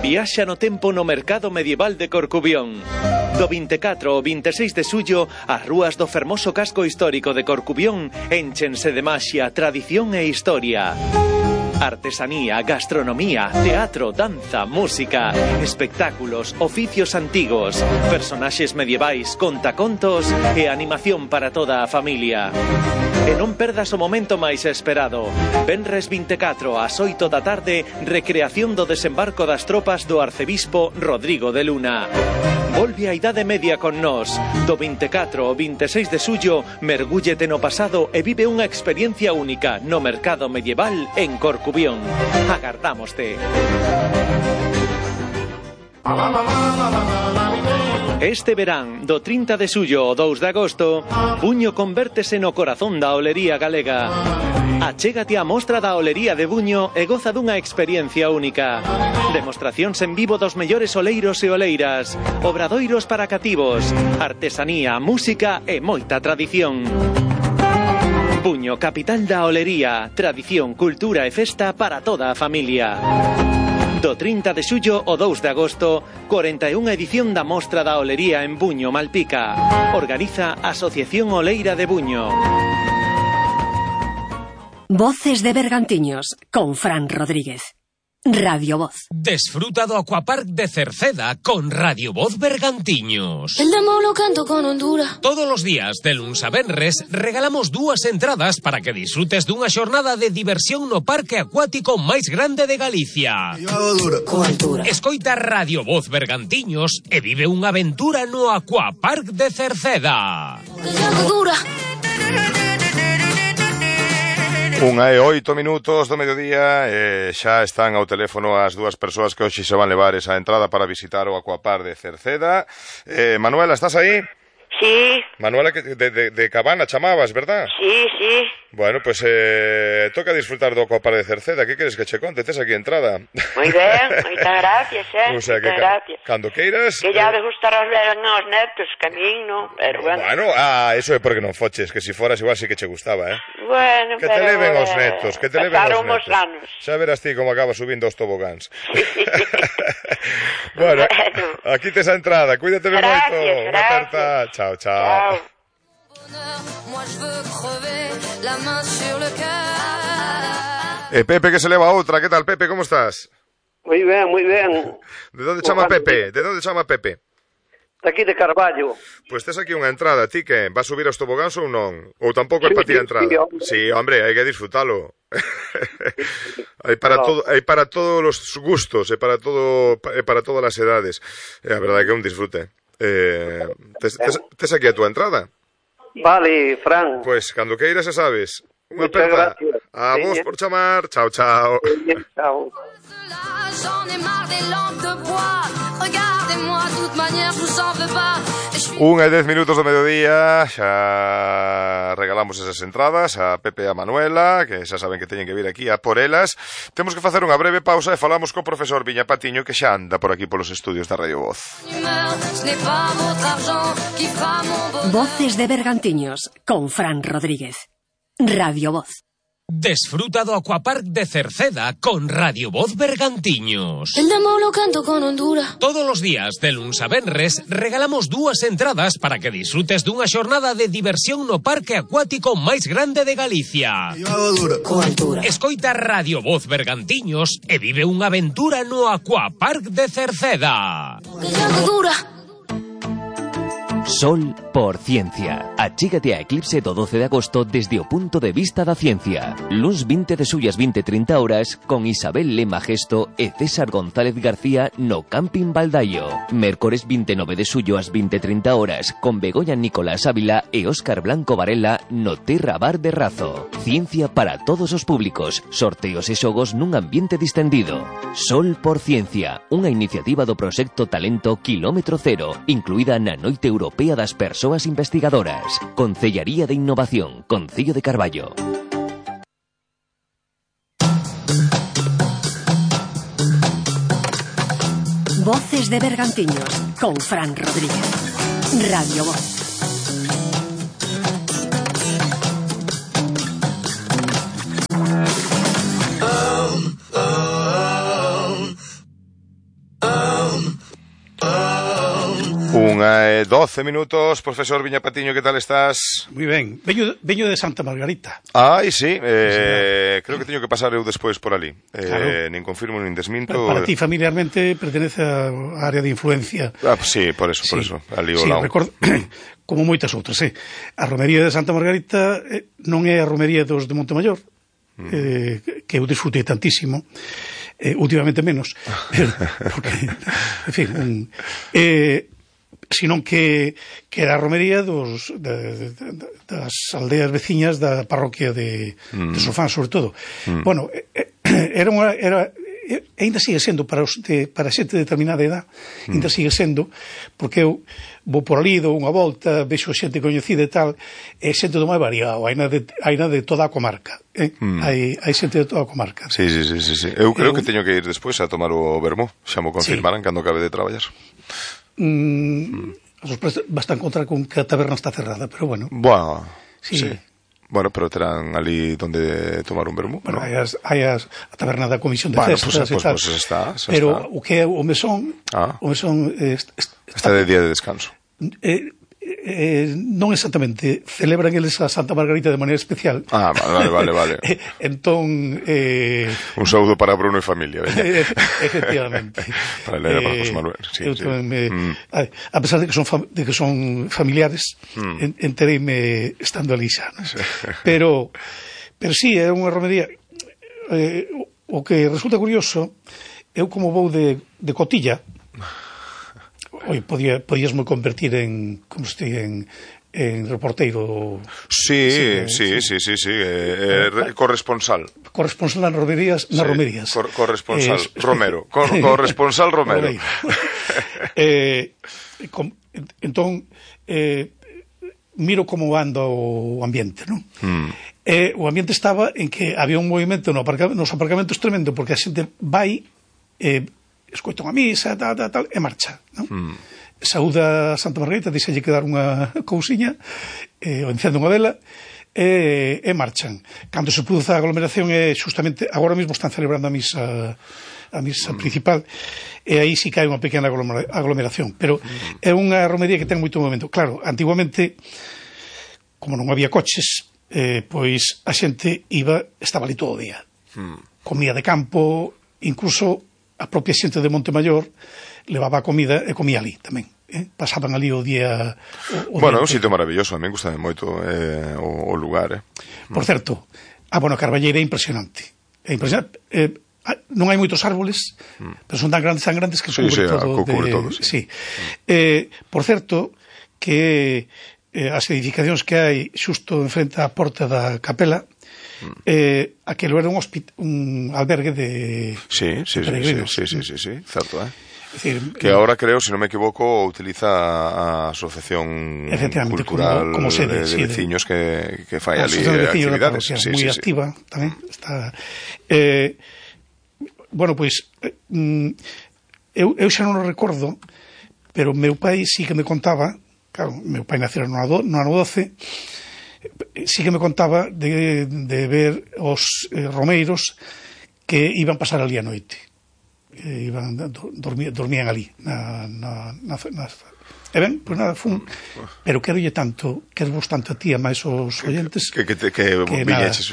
Viaxa no tempo no mercado medieval de Corcubión. Do 24 ao 26 de xullo, as rúas do fermoso casco histórico de Corcubión énchense de maxia, tradición e historia. Artesanía, gastronomía, teatro, danza, música, espectáculos, oficios antigos, personaxes medievais, contacontos e animación para toda a familia. E non perdas o momento máis esperado. Venres 24 ás 8 da tarde, recreación do desembarco das tropas do arcebispo Rodrigo de Luna. Volve a Idade Media con nós. Do 24 ao 26 de xullo, mergúllete no pasado e vive unha experiencia única no mercado medieval en Corcubión. Agardámoste. Este verán, do 30 de xullo ao 2 de agosto, Buño convértese no corazón da olería galega. Achégate á mostra da olería de Buño e goza dunha experiencia única. Demostracións en vivo dos mellores oleiros e oleiras, obradoiros para cativos, artesanía, música e moita tradición. Buño, capital da olería, tradición, cultura e festa para toda a familia. Do 30 de xullo ao 2 de agosto, 41ª edición da Mostra da Olería en Buño, Malpica. Organiza Asociación Oleira de Buño. Voces de Bergantiños, con Fran Rodríguez. Radio Voz. Desfruta do Aquapark de Cerceda con Radio Voz Bergantiños. El demo lo canto con Honduras. Todos os días, de luns a venres, regalamos 2 entradas para que disfrutes dunha xornada de diversión no parque acuático máis grande de Galicia. Escoita Radio Voz Bergantiños e vive unha aventura no Aquapark de Cerceda. 1:08 do mediodía e xa están ao teléfono as 2 persoas que hoxe se van levar esa entrada para visitar o Aquapark de Cerceda. Manuela, estás aí? Sí. Manuela, de Cabana chamabas, verdad? Sí, sí. Bueno, pues toca disfrutar do Aquapark de Cerceda. Que queres que che conte? Tes aquí entrada. Moi ben, moitas gracias, O sea, que gracias. Cando queiras... Que ya de gustar aos netos, que a min non, pero bueno. Bueno, eso é porque non foches, que si foras igual sí que che gustaba, Bueno, que te leven os netos, que te leven os netos. Anos. Xa verás ti como acaba subindo os tobogáns. Bueno, aquí tes a entrada, cuídate ben moito. Unha aperta. Chao, chao. Pepe que se leva outra. Que tal, Pepe? Como estás? Moi ben, moi ben. De onde chama Pepe? De onde chama Pepe? De aquí de Carballo. Pois tes aquí unha entrada, ti que vas subir aos tobogáns ou non? Ou tampouco é para ti a entrada? Sí, hombre, hai que disfrutalo. Hai para todos os gustos, e para todas as edades. A verdade é que é un disfrute. Tes aquí a tua entrada? Vale, Fran. Pois, cando queiras, xa sabes. Unha Muchas aperta. gracias. A vos por chamar. Chao, chao. Chao. 1:10 do mediodía. Xa regalamos esas entradas a Pepe e a Manuela, que xa saben que teñen que vir aquí a por elas. Temos que facer unha breve pausa e falamos co profesor Viña Patiño, que xa anda por aquí polos estudios da Radio Voz. Voces de Bergantiños, con Fran Rodríguez. Radio Voz. Desfruta do Aquapark de Cerceda con Radio Voz Bergantiños. El demo lo canto con Honduras. Todos os días, de luns a venres, regalamos 2 entradas para que disfrutes dunha xornada de diversión no parque acuático máis grande de Galicia. Escoita Radio Voz Bergantiños e vive unha aventura no Aquapark de Cerceda. Sol por Ciencia. Achígate a Eclipse do 12 de agosto desde o punto de vista da ciencia. Luns 20 de xullo ás 20:30 horas con Isabel Lema Gesto e César González García no Camping Baldaio. Mércores 29 de xullo ás 20:30 horas con Begoña Nicolás Ávila e Óscar Blanco Varela no Terra Bar de Razo. Ciencia para todos os públicos. Sorteos e xogos nun ambiente distendido. Sol por Ciencia, unha iniciativa do proxecto Talento Kilómetro Cero, incluída na Noite Europea das Persoas Investigadoras. Concellaría de Innovación, Concello de Carballo. Voces de Bergantiños, con Fran Rodríguez. Radio Voz. 1:12 minutos. Profesor Viña Patiño, que tal estás? Moi ben. Veño de Santa Margarita. Ai, sí, creo que teño que pasar eu despois por ali. Claro. Nin confirmo, nin desminto. Para ti familiarmente pertenece á área de influencia. Sí, por eso. Ali ao sí, lado. Recordo, como moitas outras, A romería de Santa Margarita non é a romería dos de Montemayor, que eu disfrutei tantísimo. Últimamente menos, porque, en fin, senón que era a romería das aldeas veciñas da parroquia de Sofán, sobre todo. Bueno, ainda sigue sendo para xente de determinada edad, ainda sigue sendo, porque eu vou por ali, dou unha volta, vexo xente coñecida e tal, e xente do máis variado, hai na de toda a comarca, hai xente de toda a comarca. Sí. Eu creo que teño que ir despois a tomar o vermú, xa mo confirmaran cando acabe de traballar. A sorpresa vas a encontrar con que a taberna está cerrada, pero bueno. Bueno, sí. Bueno, pero terán ali donde tomar un vermú. Bueno, ¿no? hai a taberna da Comisión de Festas e tal. Pues está. Pero o que é o mesón, está de día de descanso. Non exactamente, celebran eles a Santa Margarita de maneira especial. Vale. Entón un saúdo para Bruno e familia, veña. Efectivamente. Para Elena, para José Manuel. Sí. A pesar de que son familiares, entereime estando ali xa, ¿no? Pero sí, é unha romería. O que resulta curioso, eu como vou de cotilla, podíasme convertir en reporteiro. Sí. Corresponsal nas romerías. Corresponsal Romero. Corresponsal Romero. Entón miro como anda o ambiente, non? O ambiente estaba en que había un movimento nos aparcamentos tremendo, porque a xente vai escoita unha misa, tal, e marcha, non? Saúda a Santa Margarita, díxelle que dar unha cousiña, o encende unha vela, e marchan. Cando se produce a aglomeración, justamente, agora mesmo están celebrando a misa principal, e aí sí que hai unha pequena aglomeración, pero é unha romería que ten moito movimento. Claro, antiguamente, como non había coches, pois a xente estaba ali todo o día. Comía de campo, incluso a propia xente de Montemayor levaba a comida e comía ali tamén. Pasaban ali o día... Bueno, é un sitio maravilloso, a mí gustame moito o lugar. Por certo, a Carballeira é impresionante. Non hai moitos árboles, pero son tan grandes que cubre todo. Sí. Por certo, que as edificacións que hai xusto enfrente á porta da capela, aquilo era un albergue de peregrinos. Sí, certo, que ahora creo, si non me equivoco, utiliza a Asociación Cultural como sede, de veciños que fai ali actividades. Moi activa tamén. Bueno, pois eu xa non o recordo, pero meu pai sí que me contaba, claro, meu pai nacera no ano 12, sí que me contaba de ver os romeiros que iban pasar ali a noite. Dormían ali e ben, pois nada, pero querolle tanto, quervos tanto a ti, a máis os oyentes, que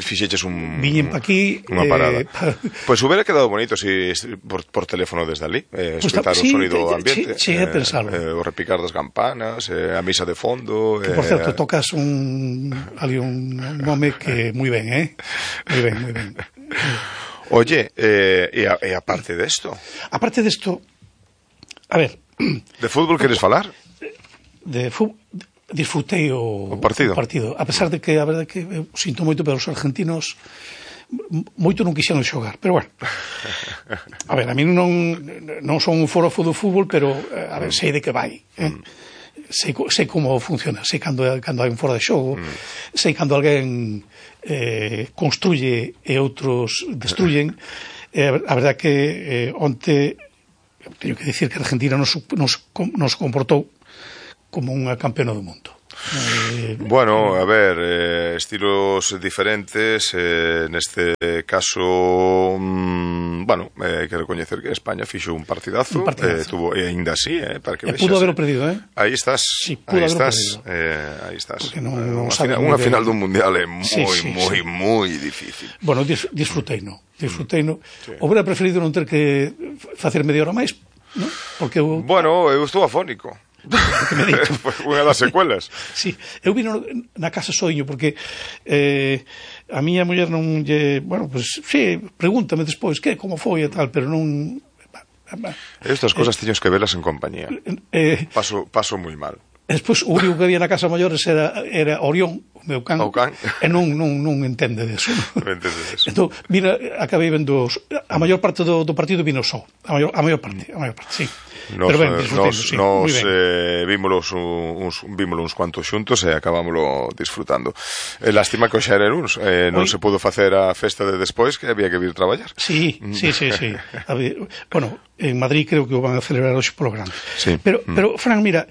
fixeches viñen pa aquí unha parada. Pois hubiera quedado bonito si por teléfono desde ali, escutar o sonido ambiente, o repicar das campanas, a misa de fondo, que por certo tocas ali un nome que moi ben, moi ben. Oye, e aparte desto? Aparte desto, a ver... De fútbol queres falar? De fútbol disfrutei o partido. A pesar de que, a verdade, que eu sinto moito, pero os argentinos moito non quixeron xogar, pero bueno. A ver, a mí non son un forofo do fútbol, pero a ver, sei de que vai, sei como funciona, sei cando hai un fora de xogo, sei cando alguén construye e outros destruyen. A verdade que onte teño que dicir que Argentina nos comportou como unha campeona do mundo. Bueno, a ver, estilos diferentes, neste caso, bueno, hai que recoñecer que España fixo un partidazo. Tuvo, e ainda así, para que vexas. Pudo haberlo perdido, Aí estás. Sí, pudo haberlo perdido. Aí estás. Unha final dun mundial é moi difícil. Bueno, disfruteino. Hubiera preferido non ter que facer media hora máis, non? Porque bueno, eu estou afónico. Unha das secuelas. Sí, eu vino na casa soño porque a miña muller non lle, bueno, pues sí, pregúntame despois como foi e tal, pero non. Estas cosas teños que velas en compañía. Paso moi mal. Despois o único que había na casa maiores era Orión, o meu can. E non entende deso. Entón, acabei vendo a maior parte do partido vino só. A maior parte, sí. Pero ben, nos vímolos uns cuantos xuntos e acabámoslo disfrutando. Lástima que o xa era luns, non se pudo facer a festa de despois, que había que vir traballar. Sí. Bueno, en Madrid creo que o van a celebrar hoxe polo grande. Pero Fran, mira,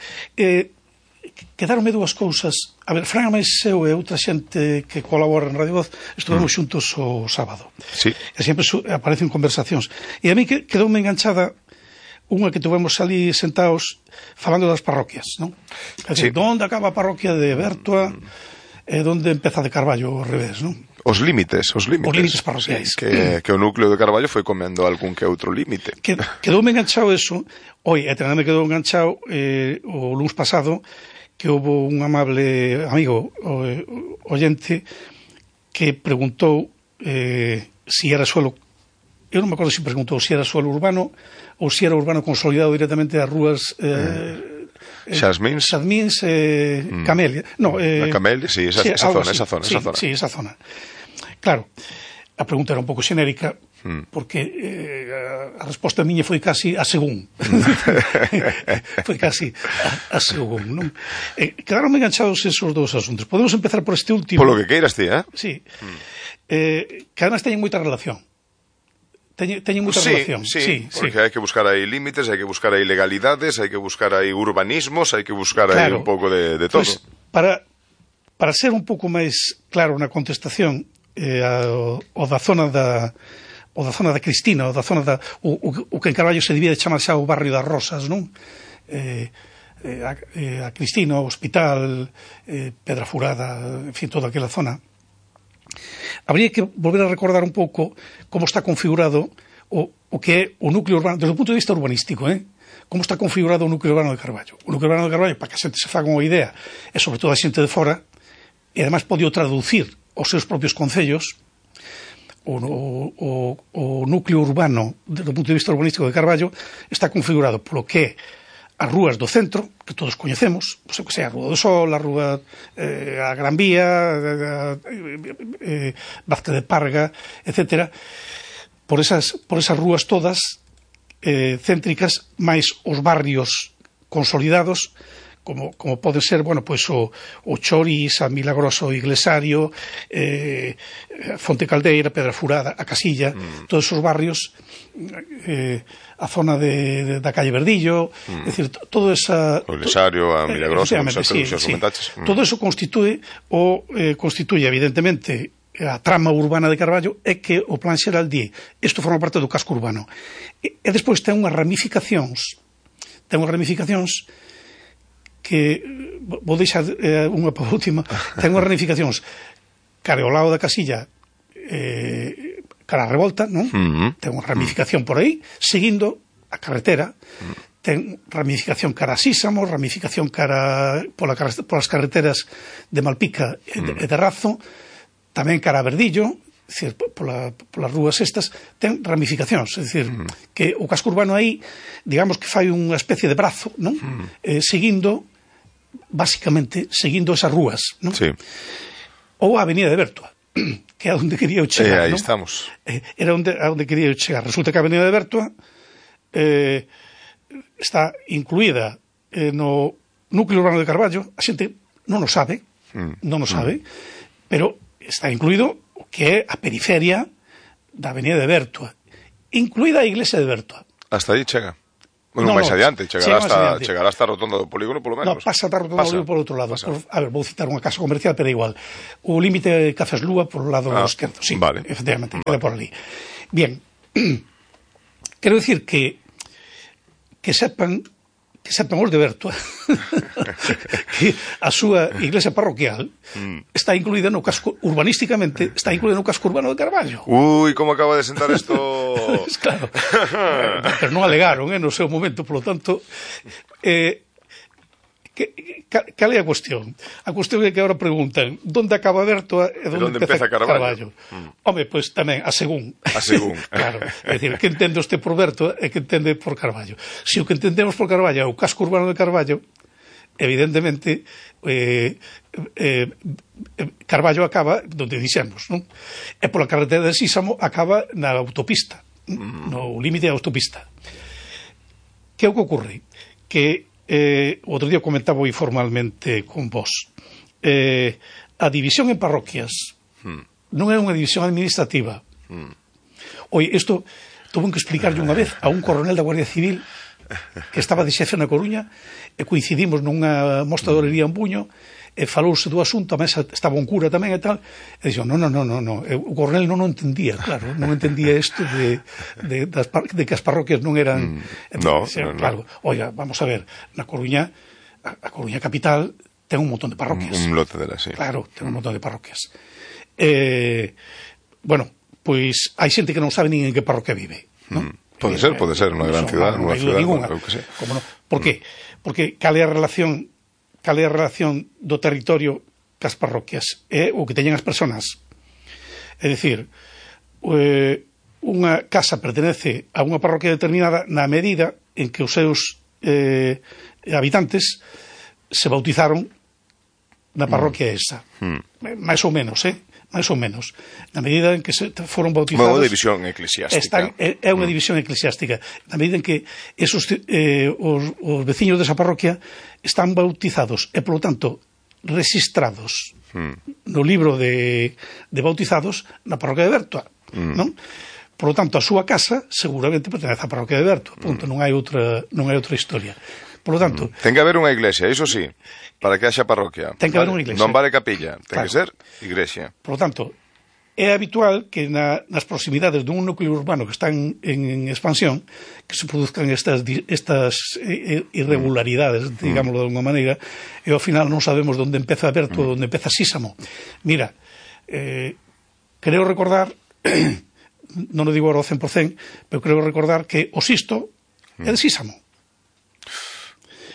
quedaronme dúas cousas. A ver, Fran máis eu e outra xente que colabora en Radio Voz estuvemos xuntos o sábado. Sí. E sempre aparecen conversacións. E a mí quedoume enganchada unha que tuvemos ali sentados falando das parroquias, non? É dicir, onde acaba a parroquia de Bertua e onde empeza de Carballo ao revés, non? Os límites parroquiais. Que o núcleo de Carballo foi comendo algún que outro límite. Quedoume enganchado eso. E tamén me quedou enganchado o luns pasado que houve un amable amigo oyente que preguntou si era suelo, eu non me acordo se preguntou si era suelo urbano ou si era urbano consolidado directamente das rúas Xasmins, Camelia. Camelia, sí, esa zona. Sí, esa zona. Claro, a pregunta era un pouco xenérica, porque a resposta miña foi casi a según. Foi casi a según, non? Quedaronme enganchados esos dous asuntos. Podemos empezar por este último. Polo que queiras ti, Sí. Que además teñen moita relación. Teñen moita relación. Sí, porque hai que buscar aí límites, hai que buscar aí legalidades, hai que buscar aí urbanismos, hai que buscar aí un pouco de todo. Pues, para ser un pouco máis claro na contestación, o da zona da Cristina, o da zona o que en Carballo se divide chamar xa o barrio das Rosas, non? A Cristina, o Hospital, Pedra Furada, en fin, toda aquela zona. Habría que volver a recordar un pouco como está configurado o que é o núcleo urbano, desde o punto de vista urbanístico, como está configurado o núcleo urbano de Carballo. O núcleo urbano de Carballo, para que a xente se faga unha idea, é sobre todo a xente de fora, e además pode traducir os seus propios concellos. O núcleo urbano, desde o punto de vista urbanístico de Carballo, está configurado polo que é as rúas do centro, que todos coñecemos, o sea, a Rúa do Sol, a Rúa, a Gran Vía, Vázquez de Parga, etc. Por esas rúas todas céntricas, máis os barrios consolidados, como pode ser, bueno, pois o Choriz, a Milagroso, o Iglesario, Fonte Caldeira, Pedra Furada, a Casilla, todos esos barrios, a zona da calle Verdillo, é dicir, todo esa... O Iglesario, a Milagroso, todo eso constituye, evidentemente, a trama urbana de Carballo, é que o plan xeral di, isto forma parte do casco urbano. E despois ten unhas ramificacións, que vou deixar unha para a última, ten unhas ramificacións cara ao lado da Casilla, cara a Revolta, non? Ten unha ramificación por aí, seguindo a carretera, ten ramificación cara a Sísamo, ramificación cara polas carreteras de Malpica e de Razo, tamén cara a Verdillo, é dicir, polas rúas estas, ten ramificacións, é dicir, que o casco urbano aí, digamos que fai unha especie de brazo, non? Básicamente, seguindo esas rúas, non? Sí. Ou a Avenida de Bertua, que é onde quería eu chegar, aí non? Estamos. Era onde quería eu chegar. Resulta que a Avenida de Bertua está incluída no núcleo urbano de Carballo, a xente non o sabe, pero está incluído o que é a periferia da Avenida de Bertua, incluída a iglesia de Bertua. Hasta aí chega. Bueno, máis adiante, chegará hasta a rotonda do polígono, polo menos. No, pasa a rotonda do polígono por outro lado. A ver, vou citar unha casa comercial, pero é igual. O límite de Cafés Lúa por o lado esquerdo, sí, vale. Efectivamente, queda por ali. Bien, Quero dicir que sepan os de Bertoa que a súa iglesia parroquial está incluída no casco, urbanísticamente está incluída no casco urbano de Carballo. Ui, como acaba de sentar isto. Claro, pero non alegaron no seu momento, polo tanto cal é a cuestión? A cuestión é que agora preguntan onde acaba Bertoa e onde empeza Carballo. Home, pois tamén a según. Claro, é dicir, que entende usted por Bertoa e que entende por Carballo. Se o que entendemos por Carballo é o casco urbano de Carballo, evidentemente Carballo acaba donde dixemos, non? E pola carretera de Sísamo acaba na autopista, no límite da autopista. Que é o que ocorre? Que outro día comentaba informalmente con vos, a división en parroquias non é unha división administrativa. Oi, isto tuve que explicarlle unha vez a un coronel da Guardia Civil que estaba de xefe na Coruña e coincidimos nunha mostra de olería en Buño e falouse do asunto, a mesa estaba un cura tamén e tal, e dixo, non, o coronel non o entendía, claro, non entendía isto de que as parroquias non eran... Claro, oiga, vamos a ver, na Coruña, a Coruña capital ten un montón de parroquias. Un lote delas, sí. Claro, ten un montón de parroquias. Bueno, pois hai xente que non sabe nin en que parroquia vive, non? Pode ser, nunha gran cidade, nunha cidade, claro que sí. Por qué? Porque cal é a relación do territorio cas parroquias? É o que teñen as persoas. É dicir, unha casa pertenece a unha parroquia determinada na medida en que os seus habitantes se bautizaron na parroquia esa. Mais ou menos, máis ou menos, na medida en que se foron bautizados. Unha división eclesiástica. É unha división eclesiástica. Na medida en que os veciños desa parroquia están bautizados e, polo tanto, registrados no libro de bautizados na parroquia de Bertoa, non? Por lo tanto, a súa casa seguramente pertenece á parroquia de Bertoa. Punto, non hai outra historia. Por lo tanto, ten que haber unha iglesia, iso sí. Para que haxa parroquia. Ten que haber unha iglesia. Non vale capilla, ten que ser iglesia. Por lo tanto, é habitual que nas proximidades dun núcleo urbano que están en expansión que se produzcan estas irregularidades, digámoslo de alguma maneira, e ao final non sabemos onde empeza Bertoa, onde empeza Sísamo. Mira, creo recordar, non o digo agora ao 100%, pero creo recordar que o Sisto é de Sísamo.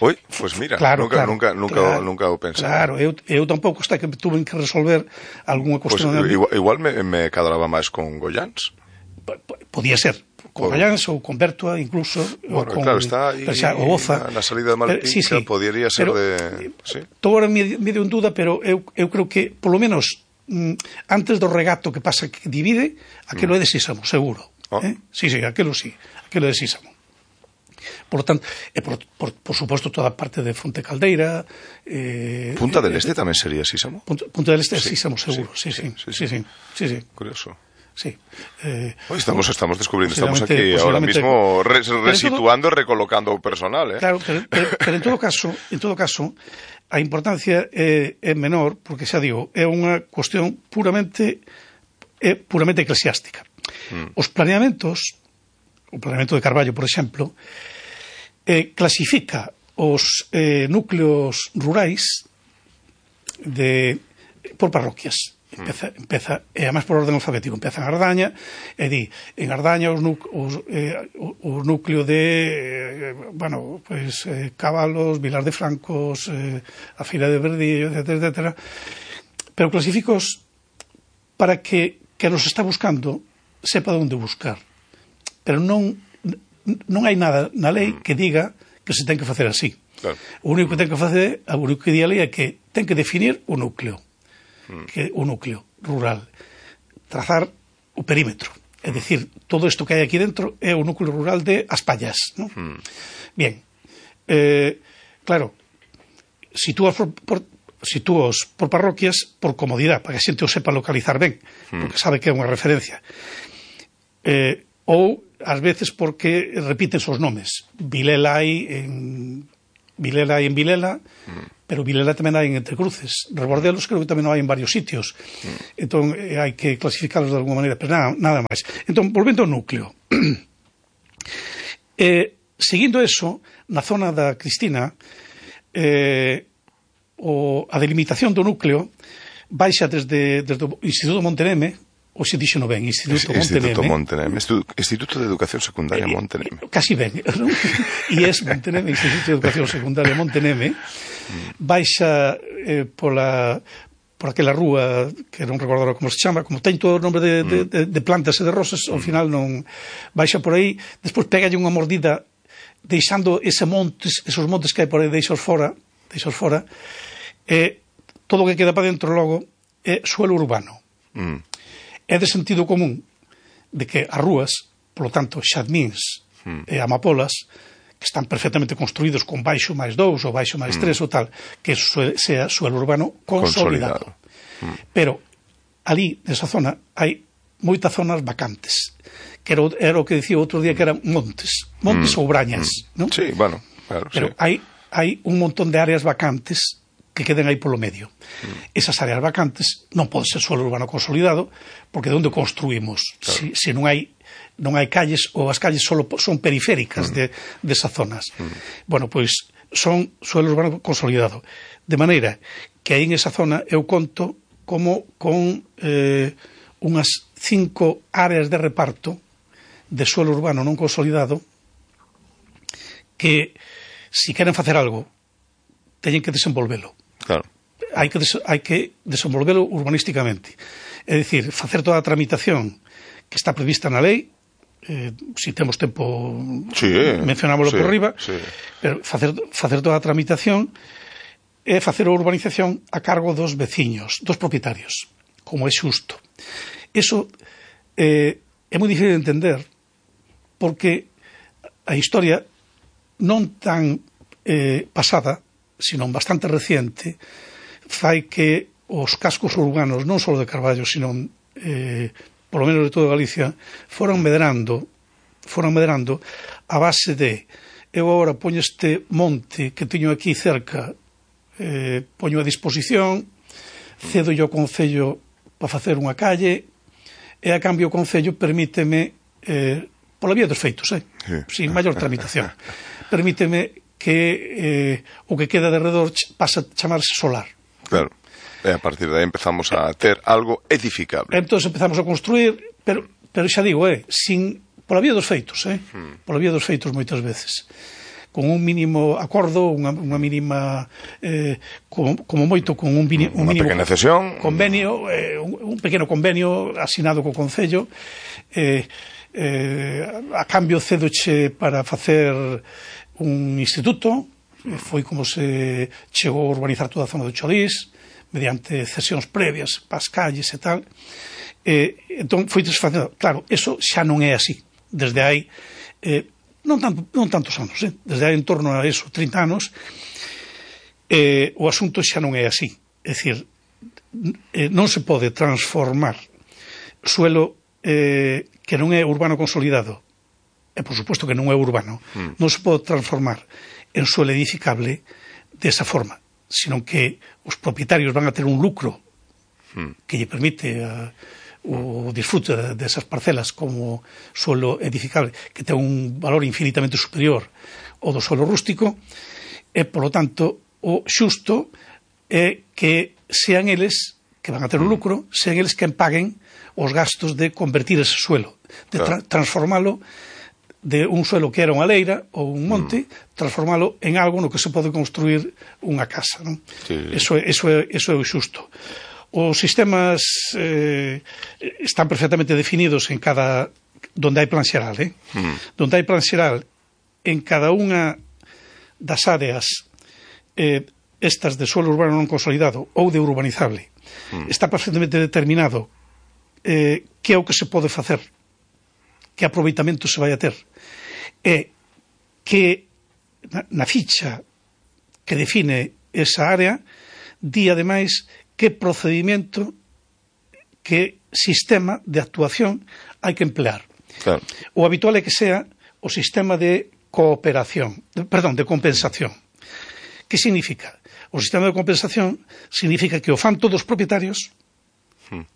Oi, pois mira, nunca o pensei. Claro, eu tampouco, hasta que tuve que resolver algunha cuestión. Igual me cadraba máis con Goiáns. Podía ser, con Goiáns ou con Bertoa, incluso. Claro, está aí na salida de Malpica, podería ser de... Todo ahora medio en duda, pero eu creo que, polo menos, antes do regato que pasa que divide, aquilo é de Sísamo, seguro. Sí, aquilo é de Sísamo. Por lo tanto, por suposto, toda a parte de Fonte Caldeira... Punta del Este tamén sería Sísamo? Punta del Este é Sísamo, seguro, sí. Curioso. Sí. Estamos descubrindo, estamos aquí ahora mismo resituando e recolocando o personal, Claro, pero en todo caso, a importancia é menor, porque xa digo, é unha cuestión puramente eclesiástica. Os planeamentos, o planeamento de Carballo, por exemplo, clasifica os núcleos rurais por parroquias. Empeza, e además por orden alfabético, empeza en Ardaña, e di, en Ardaña o núcleo de Cabalos, Vilar de Francos, a Fila de Verdillo, etc. Pero clasificos para que nos está buscando sepa onde buscar. Pero non hai nada na lei que diga que se ten que facer así. Claro. O único que ten que facer, o único que di a lei é que ten que definir o núcleo. Que o núcleo rural, trazar o perímetro, é dicir, todo isto que hai aquí dentro é o núcleo rural de As Pallas, ¿no? Bien, claro, sitúas por parroquias por comodidade, para que a xente o sepa localizar ben, porque sabe que é unha referencia, ou ás veces porque repiten os nomes. Vilela hai en Vilela, pero Vilela tamén hai en Entrecruces. Rebordelos creo que tamén hai en varios sitios. Entón, hai que clasificarlos de alguma maneira, pero nada máis. Entón, volvendo ao núcleo. Seguindo eso, na zona da Cristina, a delimitación do núcleo baixa desde o Instituto Monteneme, ou se dixo no ben, Instituto Monteneme. Instituto de Educación Secundaria Monteneme. Casi ben, non? IES Monteneme, Instituto de Educación Secundaria Monteneme, baixa por aquela rúa, que non recordo como se chama, como ten todo o nombre de plantas e de rosas, ao final non baixa por aí, despois pegalle unha mordida deixando esos montes que hai por aí, deixos fora, e todo o que queda para dentro logo é suelo urbano. É de sentido común de que as rúas, polo tanto, xadmíns e amapolas, que están perfectamente construídos con baixo máis 2 ou baixo máis 3 ou tal, que sea suelo urbano consolidado. Pero ali, nesa zona, hai moitas zonas vacantes, que era o que dicía outro día que eran montes ou brañas, non? Sí, bueno, claro, pero sí. Hai un montón de áreas vacantes que queden aí polo medio. Esas áreas vacantes non pode ser suelo urbano consolidado, porque de onde construímos? Claro. Se non hai calles, ou as calles só son periféricas desas zonas. Bueno, pois son suelo urbano consolidado. De maneira que aí en esa zona eu conto como con unhas 5 áreas de reparto de suelo urbano non consolidado que, se queren facer algo, teñen que desenvolvelo. Claro. Hai que desenvolvelo urbanísticamente. É dicir, facer toda a tramitación que está prevista na lei, se temos tempo mencionámoslo por riba, pero facer toda a tramitación e facer a urbanización a cargo dos veciños, dos propietarios, como é xusto. Eso é moi difícil de entender, porque a historia non tan pasada, sino bastante reciente, fai que os cascos urbanos, non só de Carballo, sino polo menos de toda Galicia, foran medrando a base de eu agora poño este monte que teño aquí cerca, poño a disposición, cedo yo ao Concello para facer unha calle, e a cambio o Concello permíteme, pola vía dos feitos, sin maior tramitación, permíteme que o que queda de redor pasa a chamarse solar. Claro. E a partir de aí empezamos a ter algo edificable. Entón empezamos a construir, pero xa digo, pola vía dos feitos, pola vía dos feitos moitas veces, con un mínimo acordo, unha mínima, como moito, con un mínimo pequena cesión, convenio, un pequeno convenio asinado co Concello, a cambio cedoche para facer un instituto, foi como se chegou a urbanizar toda a zona do Cholís, mediante cesións previas para as calles e tal. Entón foi desfacendo. Claro, eso xa non é así. Desde hai non tantos anos, desde hai en torno a eso, 30 anos, o asunto xa non é así. É dicir, non se pode transformar suelo que non é urbano consolidado, e por suposto que non é urbano, non se pode transformar en suelo edificable desa forma, sino que os propietarios van a ter un lucro que lle permite o disfrute desas parcelas como suelo edificable, que ten un valor infinitamente superior ao do suelo rústico, e, polo tanto, o xusto é que sean eles que van a ter un lucro, sean eles que paguen os gastos de convertir ese suelo, de transformalo de un suelo que era unha leira ou un monte, transformalo en algo no que se pode construir unha casa, non? Sí. Eso é o xusto. Os sistemas están perfectamente definidos en cada donde hai plan xeral, donde hai plan xeral en cada unha das áreas estas de suelo urbano non consolidado ou de urbanizable, está perfectamente determinado que é o que se pode facer, que aproveitamento se vai a ter, e que na ficha que define esa área di ademais que procedimento, que sistema de actuación hai que emplear. Claro. O habitual é que sea o sistema de de compensación. Que significa? O sistema de compensación significa que o fan todos os propietarios,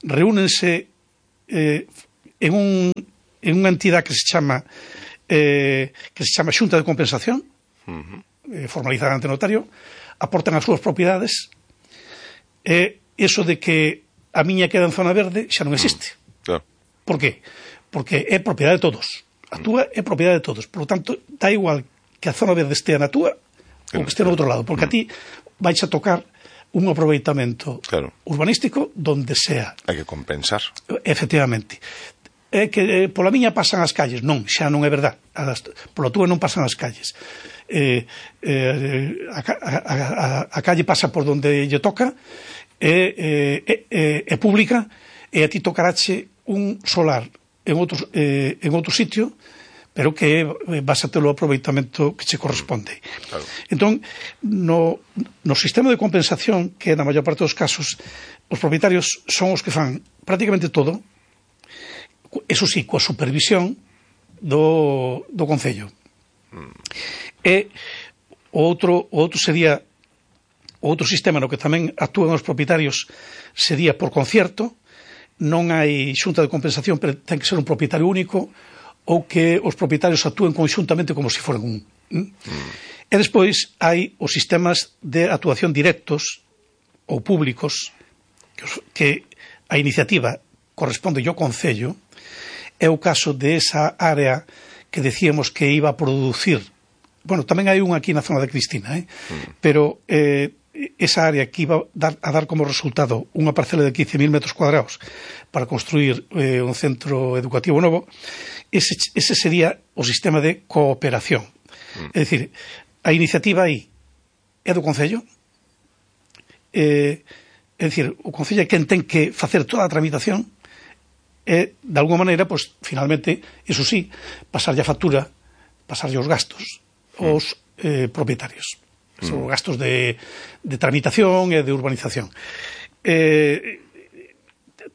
reúnense en unha entidade que se chama que se chama Xunta de Compensación, formalizada ante notario, aportan as súas propiedades, eso de que a miña queda en zona verde xa non existe. Por qué? Porque é propiedade de todos. A túa é propiedade de todos. Por lo tanto, dá igual que a zona verde estea na túa ou que estea no outro lado, porque a ti vais a tocar un aproveitamento urbanístico donde sea. Hai que compensar. Efectivamente. É que pola miña pasan as calles. Non, xa non é verdad. Pola túa non pasan as calles. A calle pasa por donde lle toca, é pública, e a ti tocarache un solar en outro sitio, pero que vas a ter o aproveitamento que che corresponde. Entón, no sistema de compensación, que na maior parte dos casos os propietarios son os que fan prácticamente todo, eso sí, coa supervisión do Concello. E o outro sería o outro sistema no que tamén actúan os propietarios sería por concierto. Non hai xunta de compensación, pero ten que ser un propietario único, ou que os propietarios actúen conxuntamente como se foran un. E despois hai os sistemas de actuación directos ou públicos, que a iniciativa corresponde ao Concello. É o caso de esa área que decíamos que iba a producir. Bueno, tamén hai unha aquí na zona de Cristina, pero esa área que iba a dar como resultado unha parcela de 15.000 metros cuadrados para construir un centro educativo novo, ese sería o sistema de cooperación. É dicir, a iniciativa aí é do Concello, é dicir, o Concello é quen ten que facer toda a tramitación e, de alguma maneira, pues, finalmente, iso sí, pasarlle a factura, pasarlle os gastos aos propietarios. Son gastos de tramitación e de urbanización.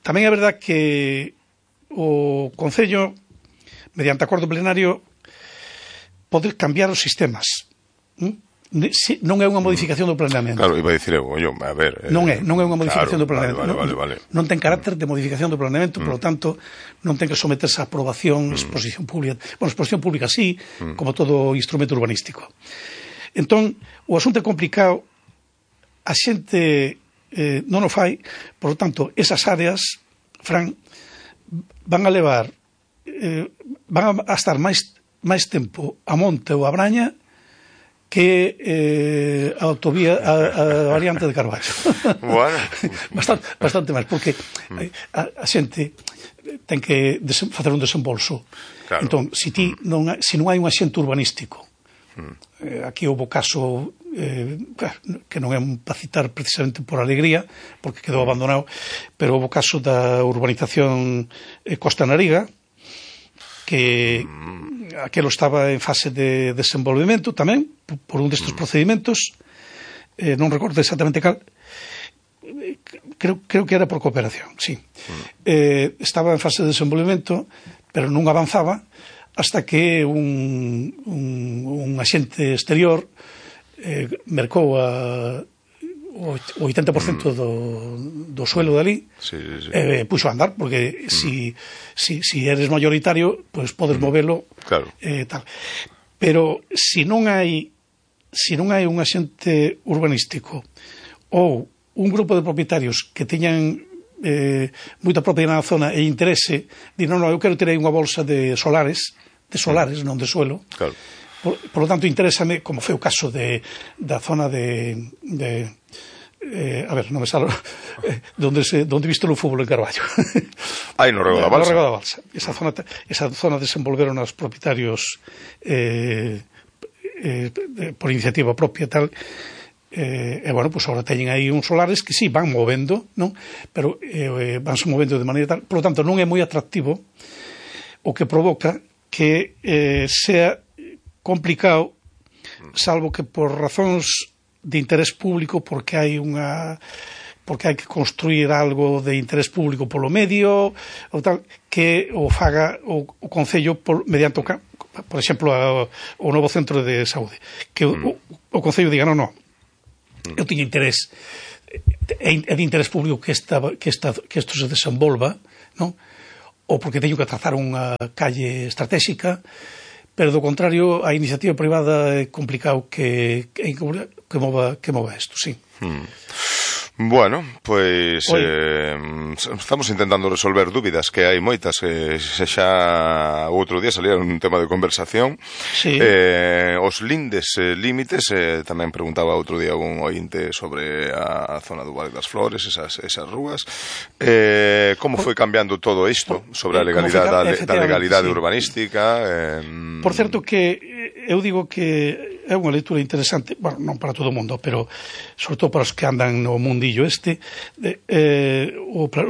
Tamén é verdad que o Concello, mediante acordo plenario, pode cambiar os sistemas. Non é unha modificación do planeamento. Claro, iba a dicir eu, a ver... Non é unha modificación do planeamento. Vale. Non ten carácter de modificación do planeamento, por lo tanto, non ten que someterse a aprobación, exposición pública. Bueno, exposición pública sí, como todo instrumento urbanístico. Entón, o asunto é complicado, a xente non o fai, por lo tanto, esas áreas, Fran, van a levar, van a estar máis tempo a monte ou a braña que a autovía, a variante de Carballo. Bueno. Bastante máis, porque a xente ten que facer un desembolso. Claro. Entón, se non hai un axente urbanístico, aquí houve caso que non é para citar precisamente por alegría, porque quedou abandonado, pero houve caso da urbanización Costa Nariga, que aquelo estaba en fase de desenvolvemento tamén, por un destes procedimentos, non recordo exactamente cal, creo que era por cooperación, sí. Estaba en fase de desenvolvemento, pero non avanzaba, hasta que un axente exterior mercou o 80% do suelo dali, puxo a andar, porque si eres mayoritario, pues podes movelo, tal. Pero se non hai un axente urbanístico ou un grupo de propietarios que teñan moita propiedade na zona e interese, di, non, eu quero ter aí unha bolsa de solares, non de suelo. Claro. Por lo tanto, interésame, como foi o caso da zona de a ver, non me salo donde visto o fútbol en Carballo. No Rego da Balsa. No Rego da Balsa. Esa zona desenvolveron os propietarios por iniciativa propia tal. E, bueno, pues agora teñen aí uns solares que sí, van movendo, non? Pero vanse movendo de maneira tal. Por lo tanto, non é moi atractivo, o que provoca que sea complicado, salvo que por razóns de interés público, porque hai que construir algo de interés público polo medio, ou tal, que o faga o Concello mediante por exemplo, o novo centro de saúde. Que o Concello diga, non, eu teño interés, é de interés público que isto se desenvolva, non? Ou porque teño que trazar unha calle estratégica, pero do contrario a iniciativa privada é complicado que mova isto, sí. Bueno, pois estamos intentando resolver dúbidas, que hai moitas, xa o outro día salía un tema de conversación. Sí. Os límites, tamén preguntaba outro día un ointe sobre a zona do Vale das Flores, esas rúas. Como foi cambiando todo isto sobre a legalidade urbanística? Por certo que eu digo que é unha lectura interesante, bueno, non para todo o mundo, pero sobre todo para os que andan no mundillo os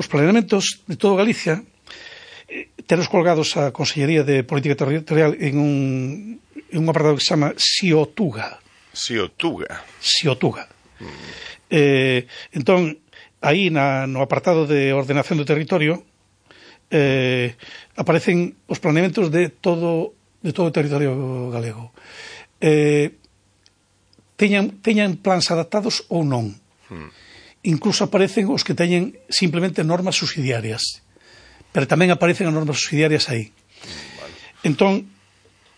planeamentos de todo Galicia tenos colgados a Consellería de Política Territorial en un apartado que se chama Xiotuga. Entón, aí no apartado de ordenación do territorio aparecen os planeamentos de todo o territorio galego. Teñan plans adaptados ou non. Incluso aparecen os que teñen simplemente normas subsidiarias, pero tamén aparecen as normas subsidiarias aí. Entón,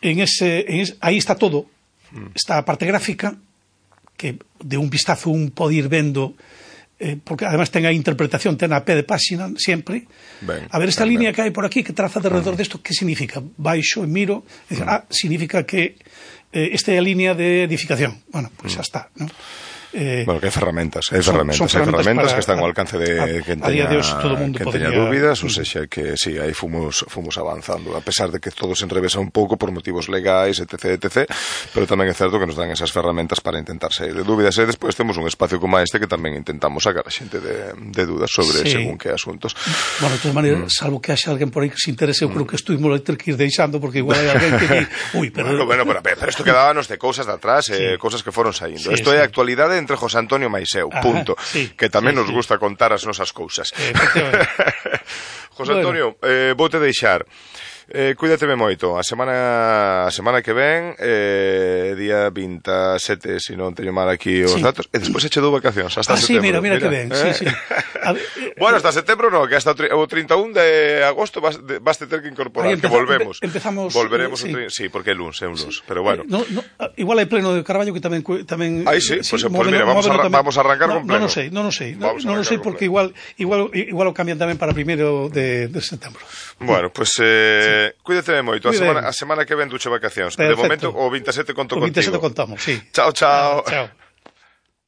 aí está todo. Está a parte gráfica, que de un vistazo un pode ir vendo, porque además ten a interpretación, ten a pé de páxina sempre. A ver, esta línea que hai por aquí, que traza de redor desto, que significa? Baixo e miro, e dicir, significa que esta é a línea de edificación. Bueno, pues xa está, non? Bueno, que hai ferramentas que están ao alcance de quen teña dúbidas, ou seja, que sí, aí fomos avanzando, a pesar de que todo se enrevesa un pouco por motivos legais, etc, pero tamén é certo que nos dan esas ferramentas para intentar sair de dúbidas, e despois temos un espacio como este que tamén intentamos sacar a xente de dúdas sobre según que asuntos. Bueno, de todas maneiras, salvo que haxa alguén por aí que se interese, eu creo que isto imos ter que ir deixando, porque igual hai alguén que pero isto quedábanos de cousas de atrás, cousas que foron saindo. Isto é a actualidade entre José Antonio Maiseu, punto. Que tamén nos gusta contar as nosas cousas. José Antonio, voute deixar. Cuídateme moito. A semana que ven, día 27, se non teño mal aquí os datos, e despois eche dou vacacións hasta setembro. Mira que ben. Bueno, hasta setembro non, que hasta o 31 de agosto vas ter que incorporar, que volvemos. Volveremos sí, porque é luns, pero bueno. Igual hai pleno de Carballo que tamén aí sí, pues mira, vamos a arrancar con pleno. Non o sei porque igual o cambian tamén para 1 de setembro. Bueno, pues cuídate moito. A semana que ven duche vacacións. De momento, o 27 conto contigo. O 27 contamos, sí. Chao.